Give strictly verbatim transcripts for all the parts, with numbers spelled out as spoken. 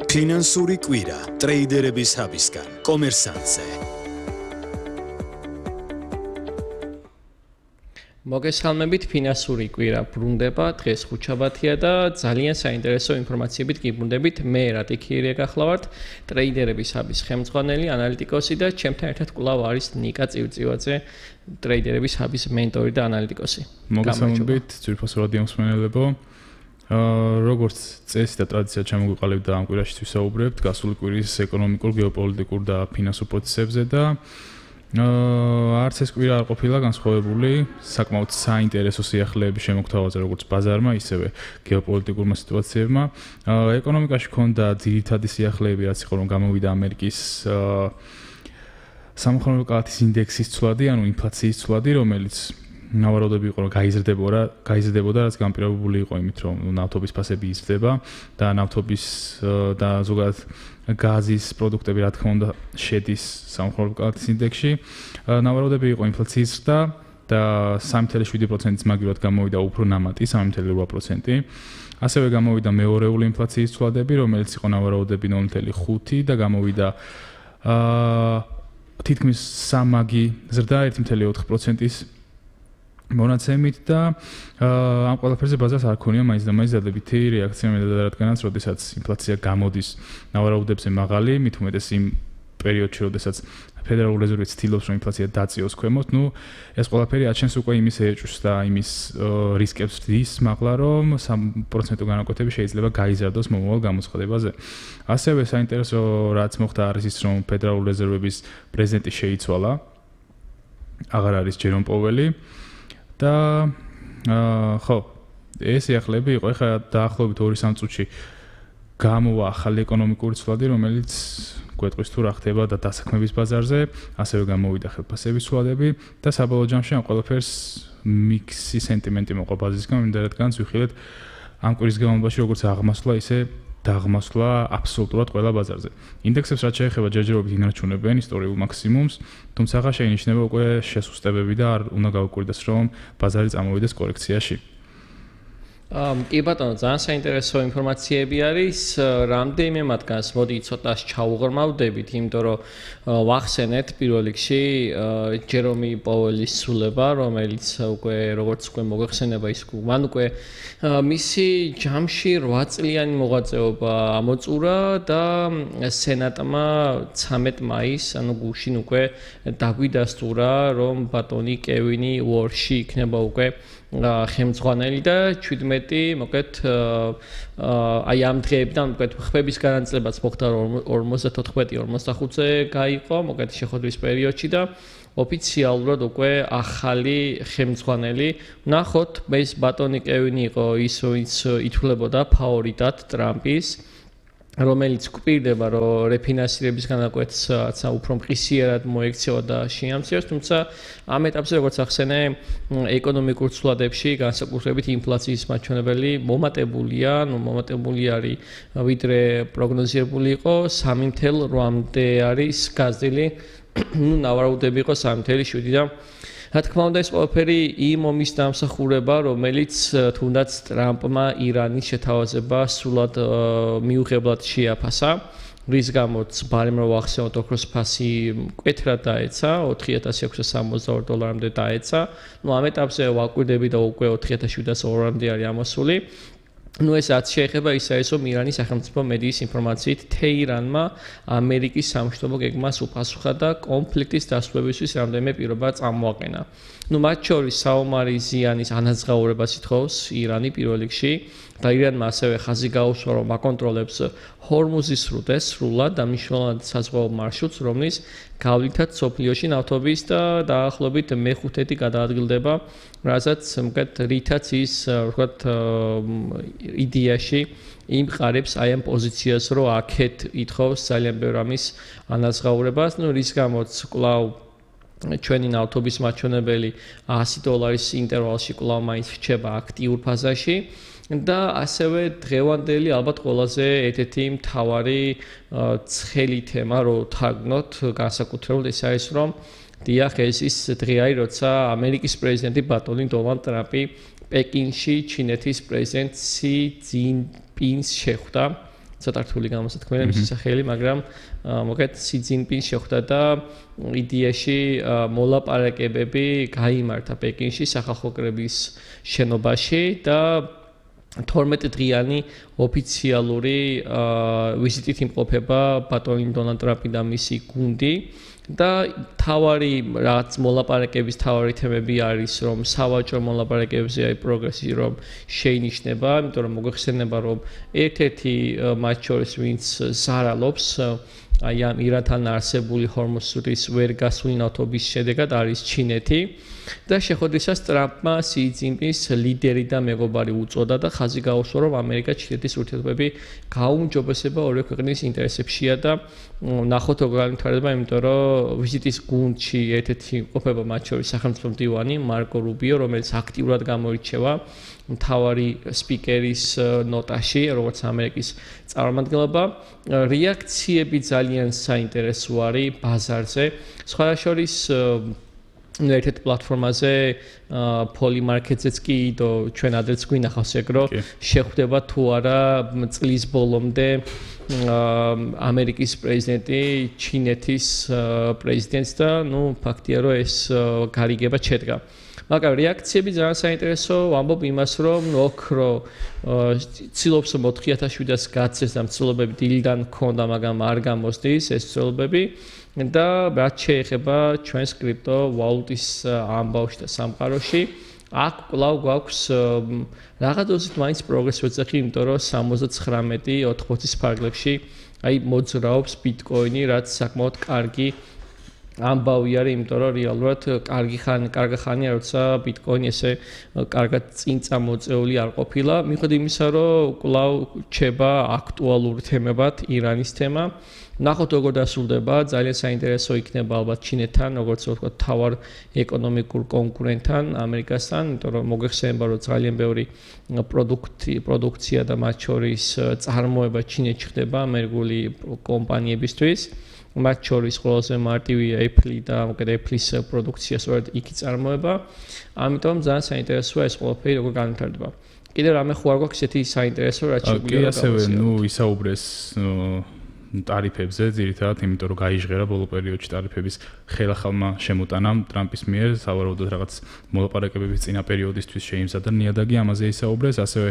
ფინანსური კვირა ტრეიდერების ჰაბისგან კომერსანტზე. მოგესალმებით, ფინანსური კვირა ბრუნდება, დღეს ხუთშაბათია და ძალიან საინტერესო ინფორმაციებით გიბრუნდებით. მე რატიქირია გახლავართ, ტრეიდერების ჰაბის ხელმძღვანელი, ანალიტიკოსი და ჩემთან ერთად კვლავ არის ნიკა წივწივაძე, ტრეიდერების ჰაბის მენტორი და ანალიტიკოსი. მოგესალმებით, ძვირფასო რადიო მსმენელებო. აა როგორც წესი და ტრადიცია ჩამოგვიყალიბდა ამ კვირაში ვისაუბრებთ გასული კვირის ეკონომიკურ, გეოპოლიტიკურ და ფინანსურ პროცესებზე და აა არც ეს კვირა არ ყოფილა განსხვავებული, საკმაოდ საინტერესო სიახლეების შემოგთავაზე როგორც ბაზარმა, ისევე გეოპოლიტიკურმა სიტუაციებმა. აა ეკონომიკაში ჰქონდა ძირითადი სიახლეები, რაც იყო რომ გამოვიდა ამერიკის აა სამხაროო კალათის ინდექსის ცვლადი, ანუ ინფლაციის ცვლადი, რომელიც ნავარაუდები იყო რომ გაიზრდებოდა, გაიზრდებოდა, რაც განპირობებული იყო იმით, რომ ნავთობის ფასები იზრდება და ნავთობის და ზოგადად გაზის პროდუქტები, რა თქმა უნდა, შედის სამხაროო კალათის ინდექსში. ნავარაუდები იყო ინფლაციის ზრდა და სამი წუთი შვიდი პროცენტის მაგივრად გამოვიდა უფრო ნამატი სამი წუთი ორი პროცენტი. ასევე გამოვიდა მეორეული ინფლაციის ცვლადები, რომელიც იყო ნავარაუდები ნული წუთი ხუთი და გამოვიდა აა თითქმის სამაგი ზრდა ერთი წუთი ოთხ პროცენტის მონაცემით და ამ ყველაფერზე ბაზარს არ ქონია მაინც და მაინც დადებითი რეაქცია მე და რადგანაც როდესაც ინფლაცია გამოდის ნავარაუდებზე მაღალი, მით უმეტეს იმ პერიოდში, როდესაც ფედერალური რეზერვი ცდილობს რომ ინფლაცია დაწიოს ქვემოთ, ნუ ეს ყველაფერი აჩენს უკვე იმის ეჭვს და იმის რისკებს დის მაღლა, რომ სამი პროცენტო განაკვეთები შეიძლება გაიზარდოს მომავალ გამოცხადებაზე. ასევე საინტერესო რაც მოხდა არის ის, რომ ფედერალური რეზერვების პრეზიდენტი შეიცვალა. აღარ არის ჯერომ პოველი. და აა ხო, ეს სიახლეები იყო. ეხლა დაახლოებით ორი სამი წუთში გამოვა ახალი ეკონომიკური ცვლადი, რომელიც გვეტყვის თუ რა ხდება და დასაქმების ბაზარზე, ასევე გამოვიდა ხელფასების ცვლადები და საბოლოო ჯამში ამ ყველაფერს მიქსი სენტიმენტი მოყვა ბაზისგან, მინდა რადგანაც ვიხილეთ ამ კვირის განმავლობაში როგორც აღმასვლა, ისე დაღმასვლა აბსოლუტურად ყველა ბაზარზე. ინდექსებს რაც შეეხება ჯერჯერობით ინარჩუნებენ ისტორიულ მაქსიმუმს, თუმცა შეინიშნება უკვე შესუსტებები და არ უნდა გავუკვირდეს რომ ბაზარი წამოვიდეს კორექციაში. ამ კი ბატონო, ძალიან საინტერესო ინფორმაციები არის. რამდენიმე მათგანს მოდი ცოტას ჩაუღრმავდებით, იმიტომ რომ ვახსენეთ პირველ რიგში ჯერომი პოველის სულება, რომელიც უკვე როგორც უკვე მოგეხსენება ის მან უკვე მისი ჯამში რვა წლიანი მოღვაწეობა ამოწურა და სენატმა ცამეტ მაისს, ანუ გუშინ უკვე დაგვიდასტურა, რომ ბატონი კევინი უორში იქნება უკვე ხელმძღვანელი და ჩვიდმეტი მოკეთ აი ამ დღეებიდან მოკეთ ხმების განაწილებაც მოხდა ორმოცდათოთხმეტი ორმოცდახუთზე გაიყო მოკეთ შეხვედრის პერიოდში და ოფიციალურად უკვე ახალი ხელმძღვანელი. ნახოთ, ეს ბატონი კევინი იყო ის, ვინც ითვლებოდა ფავორიტად ტრამპის, რომელიც გვპირდება, რომ რეფინანსირების განაკვეთს უფრო მყისიერად მოექცევა და შეამციროს, თუმცა ამ ეტაპზე როგორც ახსენე, ეკონომიკურ ცვლადებში განსაკუთრებით ინფლაციის მაჩვენებელი მომატებულია, ნუ მომატებული არის ვიდრე პროგნოზირებული იყო, სამი წუთი რვამდე არის გაზრდილი, ნუ ნავარაუდები იყო სამი წუთი შვიდი და რა თქმა უნდა ეს ყველაფერი იმ ომის დამსახურება, რომელიც თუნდაც ტრამპმა ირანის შეთავაზება სრულად მიუღებლად შეაფასა, რის გამოც ბარემ რო ახსენოთ ოქროს ფასი მკვეთრად დაეცა, ოთხი ათას ექვსი სამოცდაორი დოლარამდე დაეცა. ნუ ამ ეტაპზე ვაკვირდები და უკვე ოთხი ათას შვიდას ორამდე არის ამოსული. ნუ ეს რაც შეეხება ის არის, რომ ირანის სახელმწიფო მედიის ინფორმაციით თეირანმა ამერიკის სამშვიდობო გეგმას უპასუხა და კონფლიქტის დასრულებისთვის რამდენიმე პირობა წამოაყენა. ნუ მათ შორის საომარი ზიანის ანაზღაურებას ითხოვს ირანი პირველ რიგში და ირანმა ასევე ხაზი გაუსვა, რომ აკონტროლებს ჰორმუზის სრუტეს სრულად და მნიშვნელოვან საზღვაო მარშრუტს, რომლის გავლითაც სოფლიოში ნავთობის და დაახლოებით მეხუთედი გადაადგილდება, რასაც მკეთ რითაც ის ვთქვათ იდეაში იმყარებს აი ამ პოზიციას, რომ აქეთ ითხოვს ძალიან ბევრ ამის ანაზღაურებას, ნუ რის გამოც კვლავ ჩვენი ნავთობის მაჩვენებელი ასი დოლარის ინტერვალში კვლავ მაინც რჩება აქტიურ ფაზაში და ასევე დღევანდელი ალბათ ყველაზე ერთ-ერთი მთავარი ცხელი თემა რო თარგმნოთ განსაკუთრებულად ეს არის რომ დიახ ეს ის დღე არის როცა ამერიკის პრეზიდენტი ბატონი დონალდ ტრამპი პეკინში ჩინეთის პრეზიდენტ სი ძინპინს შეხვდა ცოტა რთული გამოსათქმელი მისი სახელი, მაგრამ მოგეთ სი ძინპინს შეხვდა და იდეაში მოლაპარაკებები გაიმართა პეკინში სახალხო კრების შენობაში და თორმეტი დღიანი ოფიციალური ვიზიტით იმყოფება ბატონი დონალდ ტრამპი და მისი გუნდი და თავარი რაც მოლაპარაკების თავარი თემები არის რომ სავაჭრო მოლაპარაკებებზე აი პროგრესი რომ შეინიშნება, იმიტომ რომ მოგვეხსენება რომ ერთ-ერთი მათ შორის ვინც ზარალობს აი ამ ირანთან არსებული ჰორმუზის ვერ გასული ნავთობის შედეგად არის ჩინეთი და შეხვედრისას ტრამპმა სი ძინპინს ლიდერი და მეგობარი უწოდა და ხაზი გაუსვა რომ ამერიკა-ჩინეთის ურთიერთობები გაუმჯობესება ორივე ქვეყნის ინტერესებშია და ნახოთ როგორ განვითარდება, იმიტომ რომ ვიზიტის გუნდში ერთ-ერთი ყოფება მათ შორის სახელმწიფო მდივანი მარკო რუბიო, რომელიც აქტიურად გამოირჩევა მთავარი სპიკერის ნოტაში, როგორც ამერიკის წარმომადგენლობა. რეაქციები ძალიან საინტერესო არის ბაზარზე. სხვა შორის ერთ-ერთ პლატფორმაზე Polymarket-ზეც კი და ჩვენ ადრეც გვინახავს ეგ რომ შეხვდება თუ არა წლის ბოლომდე ამერიკის პრეზიდენტი ჩინეთის პრეზიდენტს და ნუ ფაქტია რომ ეს გარიგება შედგა. მაგრამ რეაქციები ძალიან საინტერესო, ვამბობ იმას რომ ოქრო ცდილობს ოთხი ათას შვიდას გაცეს და ცდილობები დილიდან ქონდა, მაგრამ არ გამოსდის ეს ცდილობები და რაც შეეხება ჩვენს კრიპტო ვალუტის ამბავში და სამყაროში, აქ კვლავ გვაქვს რაღაც დოზით მაინც პროგრესი ვეძახი, იმიტომ რომ სამოცდათხრამეტი ოთხმოცის ფარგლებში აი მოძრაობს ბიტკოინი, რაც საკმაოდ კარგი ამბავი არის, იმიტომ რომ რეალურად კარგი ხანი, კარგი ხანია, როცა ბიტკოინი ესე კარგად წინ წამოწეული არ ყოფილა. მიუხედავად იმისა, რომ კვლავ რჩება აქტუალური თემებად ირანის თემა. ნახოთ როგორ დასრულდება, ძალიან საინტერესო იქნება ალბათ ჩინეთთან, როგორც ვთქვათ, თავარ ეკონომიკურ კონკურენტთან, ამერიკასთან, იმიტომ რომ მოგვეხსენება, რომ ძალიან ბევრი პროდუქტი, პროდუქცია და მათ შორის წარმოება ჩინეთში ხდება ამერიკული კომპანიებისთვის. მათ შორის ყველაზე მარტივია Apple და მოკეთ Apple-ის პროდუქცია სწორედ იქი წარმოება. ამიტომ ძალიან საინტერესოა ეს ყველაფერი როგორ განვითარდება. კიდევ რამე ხო არ გვაქვს ესეთი საინტერესო რაც შეგვიძლია გავაცილოთ. კი, ასევე, ნუ ისაუბრეს ტარიფებზე, ძირითადად, იმიტომ რომ გაიჟღერა ბოლო პერიოდში ტარიფების ხელახალმა შემოტანამ ტრამპის მიერ, სავარაუდოდ რაღაც მოლაპარაკებების წინა პერიოდისთვის შეიმზადა ნიადაგი, ამაზე ისაუბრეს, ასევე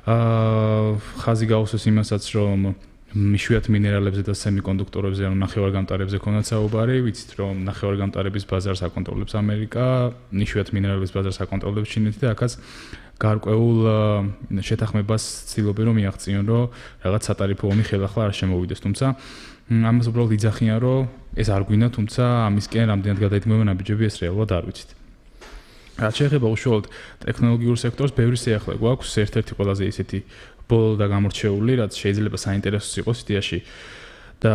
აა ხაზი გაუსვეს იმასაც, რომ მშვიდად მინერალებზე და სემიკონდუქტორებზე, ანუ ნახევარგამტარებზე ქონდა საუბარი, ვიცით რომ ნახევარგამტარების ბაზარს აკონტროლებს ამერიკა, მშვიდად მინერალების ბაზარს აკონტროლებს ჩინეთი და აქაც გარკვეულ შეთანხმებას ცდილობენ რომ მიაღწიონ, რომ რაღაც სატარიფო ომი ხელახლა არ შემოვიდეს, თუმცა ამას უბრალოდ იძახიან, რომ ეს არ გვინდა, თუმცა ამისკენ რამდენად გადაიდგმება ნაბიჯები, ეს რეალურად არ ვიცით. რაც შეეხება უშუალოდ ტექნოლოგიურ სექტორს, ბევრი შეეხლა გვაქვს, ერთ-ერთი ყველაზე ისეთი ბოლო და გამორჩეული, რაც შეიძლება საინტერესოს იყოს იდეაში და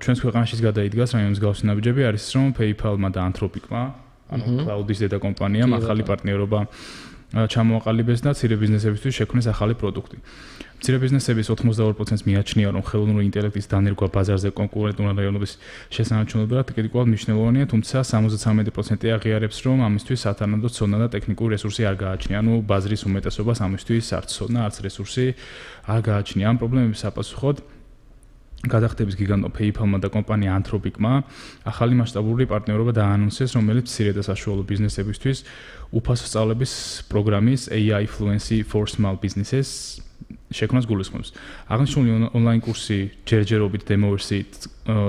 ჩვენს ქვეყანაშიც გადაიდგას რაიმის მსგავსი ნაბიჯები არის რომ PayPal-მა და Anthropic-მა, ანუ cloud-ის დედა კომპანიამ ახალი პარტნიორობა ჩამოაყალიბეს და მცირე ბიზნესებისთვის შექმნეს ახალი პროდუქტი. მცირე ბიზნესების ოცდაორი პროცენტს მიაჩნია, რომ ხელოვნური ინტელექტის დანერგვა ბაზარზე კონკურენტული რაიონების შესანარჩუნებლად კრიტიკულად მნიშვნელოვანია, თუმცა სამოცდათრამეტი პროცენტი აღიარებს, რომ ამისთვის სათანადო ცოდნა და ტექნიკური რესურსი არ გააჩნია. ანუ ბაზრის უმეტესობას ამისთვის არც ცოდნა, არც რესურსი არ გააჩნია. ამ პრობლემების საპასუხოდ გადახდების გიგანტო PayPal-მა და კომპანია Anthropic-მა ახალი მასშტაბური პარტნიორობა დაანონსეს, რომელიც მცირე და საშუალო ბიზნესებისთვის უფასო სწავლების პროგრამის A I Fluency for Small Businesses შექმნას გულისხმობს. აღნიშნული ონლაინ კურსი ჯერჯერობით დემო ვერსიით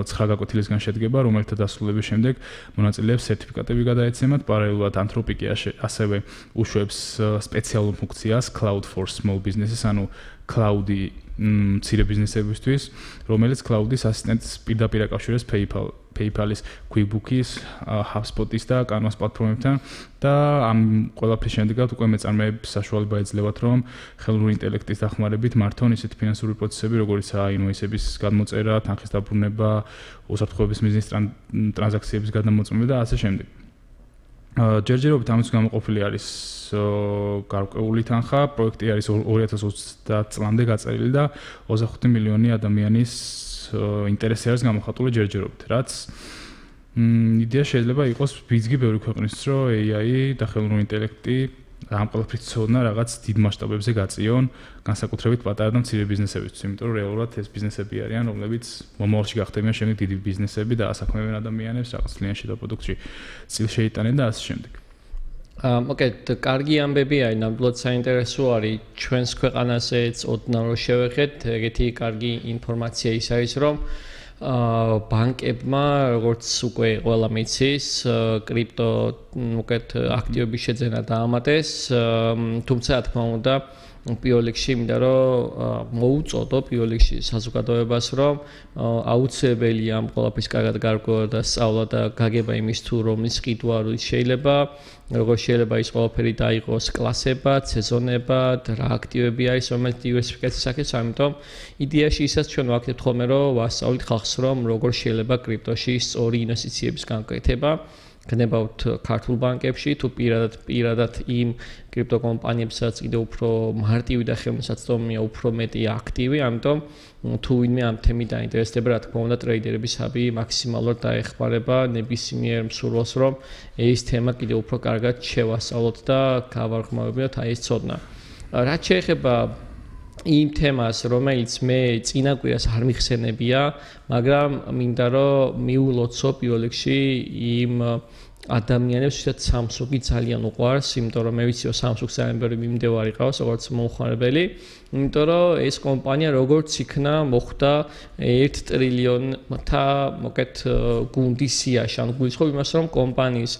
ცხრა გაკვეთილისგან შედგება, რომელთა დასრულების შემდეგ მონაწილეებს სერტიფიკატები გადაეცემათ. პარალელურად Anthropic ასევე უშვებს სპეციალურ ფუნქციას Cloud for Small Businesses, ანუ cloud-ი მცირე ბიზნესებისთვის, რომელიც cloud-ის ასისტენტს პირდაპირ აკავშირებს PayPal, PayPal-ის, QuickBooks-ის, HubSpot-ის და Canva-s პლატფორმებთან და ამ ყველაფრის შემდეგაც უკვე მეწარმეებს საშუალება ეძლევათ, რომ ხელოვნური ინტელექტის დახმარებით მართონ ისეთი ფინანსური პროცესები, როგორიცაა ინვოისების გადმოწერა, თანხის დაბრუნება, უსაფრთხოების მიზნის ტრანზაქციების გადამოწმება და ასე შემდეგ. ჯერჯერობით ამის გამოყოფილი არის გარკვეული თანხა, პროექტი არის ორი ათას ოცდაათ წლამდე გაწერილი და ოცდახუთი მილიონი ადამიანის ინტერესი არის გამოხატული ჯერჯერობით, რაც იდეა შეიძლება იყოს ბიძგი ბევრი ქვეყნის, რომ A I და ხელოვნური ინტელექტი ამ ყველაფრის ცოდნა რაღაც დიდ მასშტაბებზე გაწიონ, განსაკუთრებით პატარა და მცირე ბიზნესებისთვის, იმიტომ რომ რეალურად ეს ბიზნესები არიან, რომლებიც მომავალში გახდებიან შემდეგ დიდი ბიზნესები და ასაქმებენ ადამიანებს რაღაც კლიენტში და პროდუქტში წილ შეიტანენ და ასე შემდეგ. აა, მოკეთ, კარგი ამბები არის, ნამდვილად საინტერესო არის ჩვენს ქვეყანაზეც ოდნავ რო შევეხეთ, ეგეთი კარგი ინფორმაცია ის არის, რომ აა ბანკებმა, როგორც უკვე ყველა მიცის, კრიპტო, მოკეთ, აქტივების შეძენა დაამატეს, თუმცა რა თქმა უნდა პირველ რიგში მინდა რომ მოუწოდო პირველ რიგში საზოგადოებას რომ აუცილებელია ამ ყველაფრის კარგად გარკვევა და სწავლა და გაგება იმის თუ რომლის ყიდვა არის შეიძლება როგორ შეიძლება ის ყველაფერი დაიყოს კლასებად, სეზონებად, რა აქტივები არის რომელიც დივერსიფიკაციას აქეთს, ამიტომ იდეაში ისაც ჩვენ ვაკეთებთ ხოლმე რომ ვასწავლით ხალხს რომ როგორ შეიძლება კრიპტოში სწორი ინვესტიციების განკეთება გნებავთ ქართულ ბანკებში თუ პირადად პირადად იმ კრიპტო კომპანიებსაც კიდევ უფრო მარტივი და ხელმისაწვდომია უფრო მეტი აქტივი, ამიტომ თუ ვინმე ამ თემით დაინტერესდება, რა თქმა უნდა, ტრეიდერების ჰაბი მაქსიმალურად დაეხმარება ნებისმიერ მსურველს, რომ ეს თემა კიდევ უფრო კარგად შევასწავლოთ და გავარხმავებინოთ აი ეს ცოდნა. რაც შეეხება იმ თემას, რომელიც მე წინა კვირას არ მიხსენებია, მაგრამ მინდა რომ მიულოცო პირველ რიგში იმ ადამიანებს, ვისაც Samsung-ი ძალიან უყვარს, იმიტომ რომ მე ვიცი რომ Samsung-ს ძალიან ბევრი მიმდევარი ყავს, როგორც მომხმარებელი, იმიტომ რომ ეს კომპანია როგორც იქნა მოხვდა ერთ ტრილიონთა მოკეთ გუნდის სიაში, ან გულისხმობ იმას, რომ კომპანიის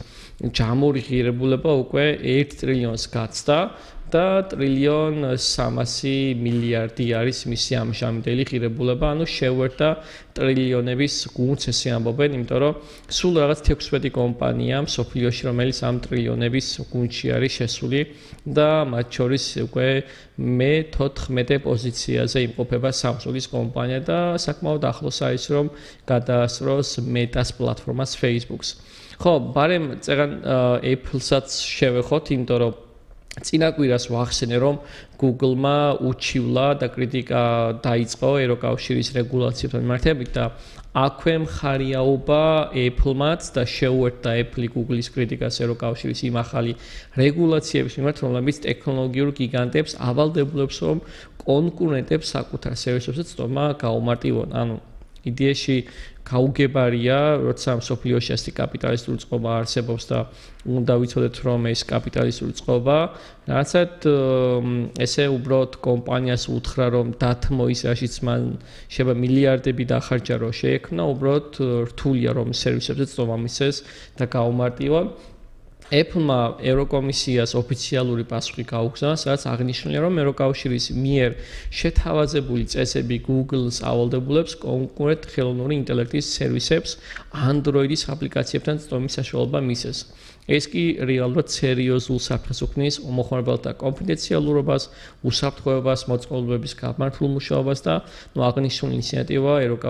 ჯამური ღირებულება უკვე ერთ ტრილიონს გაცდა და ტრილიონ სამასი მილიარდი არის მისი ამჟამინდელი ღირებულება, ანუ შევერთა ტრილიონების გუნდს ესე ამბობენ, იმიტომ რომ სულ რაღაც თექვსმეტი კომპანია მსოფლიოში, რომელიც ამ ტრილიონების გუნდში არის შესული და მათ შორის უკვე მეთოთხმეტე პოზიციაზე იმყოფება Samsung-ის კომპანია და საკმაოდ ახლოს არის რომ გადაასწროს Meta-ს პლატფორმას Facebook-ს. ხო, ბარემ წეგან Apple-საც შევეხოთ, იმიტომ რომ წინა კვირას ვახსენე რომ Google-მა უჩივლა და კრიტიკა დაიწყო ევროკავშირის რეგულაციებთან მიმართებით და აქვე მხარიაობა Apple-მაც და შეუერთდა Apple Google-ის კრიტიკას ევროკავშირის იმ ახალი რეგულაციების მიმართ, რომლებიც ტექნოლოგიურ გიგანტებს ავალდებულებს რომ კონკურენტებს საკუთარ სერვისებზე წტომა გაუმარტივონ. ანუ იდეაში გაუგებარია, როცა მსოფლიოში ასეთი კაპიტალისტური წყობა არსებობს და უნდა ვიცოდეთ რომ ეს კაპიტალისტური წყობა რაღაცად ესე უბრალოდ კომპანიას უთხრა რომ დათმო ის რაშიც მან შეიძლება მილიარდები დახარჯა რომ შეექმნა, უბრალოდ რთულია რომ სერვისებზე წტომა მისცეს და გაუმარტივონ. Apple-მა ევროკომისიას ოფიციალური პასუხი გაუგზავნა, სადაც აღნიშნულია, რომ ევროკავშირის მიერ შეთავაზებული წესები Google-ს ავალდებულებს კონკურენტ ხელოვნური ინტელექტის სერვისებს Android-ის აპლიკაციებთან წტომის საშუალება მისცეს. ეს კი რეალურად სერიოზულ საფრთხეს უქმნის მომხმარებელთა კონფიდენციალურობას, უსაფრთხოებას, მოწყობილობების გამართულ მუშაობას და აღნიშნული ინიციატივა ევროკავშირის